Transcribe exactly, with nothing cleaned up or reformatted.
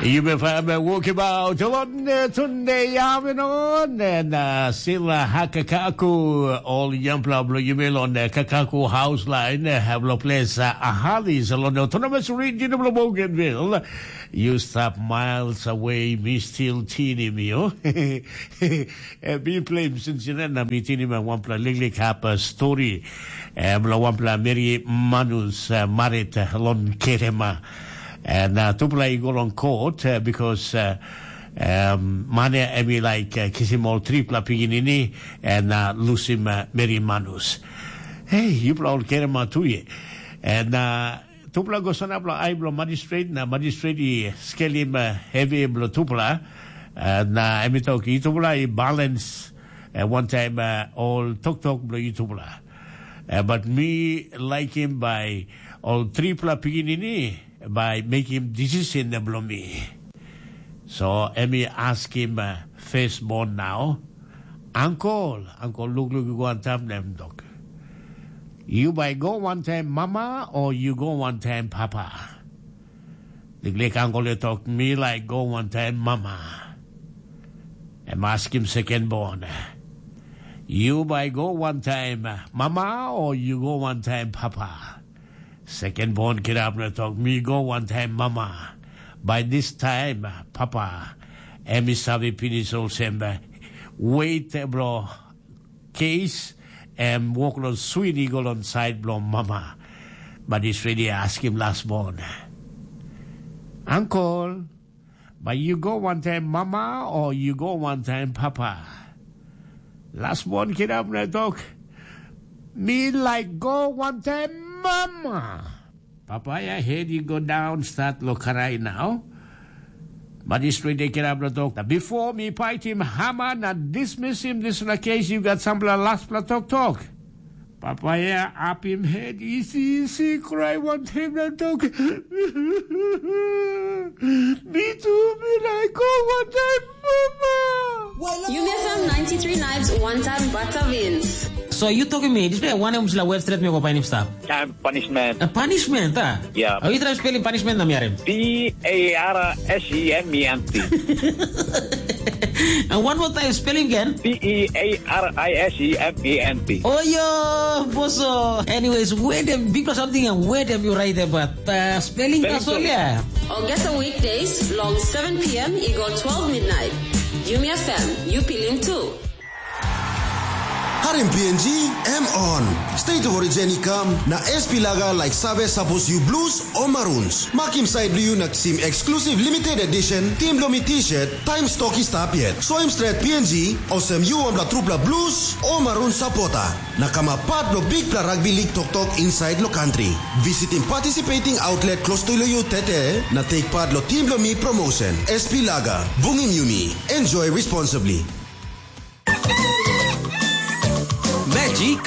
Yumi fam wokibaut lon tunde yavinon na sila hakakaku ol yampla blo yumi lon kakaku house line blo ples ahalis lon autonomous region blo Bougainville. You stop miles away, mi still tinim you. Bi plem sinsinan na mi tinim wanpela liklik hap stori blo wanpela meri manus marit lon kerema. Na tupela i go long kot, bikos mane em i laik kisim ol tripela pikinini na lusim meri manus. Hei, yupela ol kerema tu ye. Na tupela go sanap long ai bilong magistret, na magistret i skelim hevi bilong tupela. Na em i tok, yutupela i balans wantaim ol toktok bilong yutupela. Bat mi laikim bai ol tripela pikinini bai mekim decision bilong mi. So em i askim firstborn nau, ankol, ankol lukluk i go antap na em tok, yu bai go wantaim mama o yu go wantaim papa? Liklik ankol i tok, mi laik go wantaim mama. Em askim second born, yu bai go wantaim mama o yu go wantaim papa? Second born kirap na tok, mi go wantaim mama. By this time, papa em i save pinis olsem, wet bilong kes em wok long swin i go long sait bilong mama. But is ready askim last born, ankol, bai yu go wantaim mama o yu go wantaim papa? Last born kirap na tok, mi laik go wantaim mama. Papa ya hed i go daun stat lo karai nau. But is ready kirap na tok, before mi paitim hama na dismisim dispela kes, yu gat sampela laspela toktok. Papa ya apim het isi isi krai wantaim na tok, mi tu mi laik go wantaim mama. Yumi F M ninety three Nights, one time Batavins. So you talking me, this way one of the word straight me go painim stap. Time punishment. A punishment, ah? Yeah. Are you trying spelling punishment na miarim? P A R S E M E N T. And one more time, spelling again. P E A R I S E M E N T. Oh, yo, boso. Anyways, where them, because something and where them you write about uh, spelling Spelling Australia. Or get the weekdays long seven p.m. Eagle twelve midnight. Yumi F M, you feeling too. Harim P N G, M on. State of Origin i kam, na S P Laga like save sapos you blues o maroons. Makim side you na kisim exclusive limited edition Team Lomi t-shirt, time stock i stap yet. Soim stret P N G, osem you wanpela trupela blues o maroon supporter. Na kamap part bilong bikpela rugby league toktok inside lo country. Visiting participating outlet close to you tete, na take part lo Team Lomi promotion. S P Laga, bungim yumi. Enjoy responsibly. Magic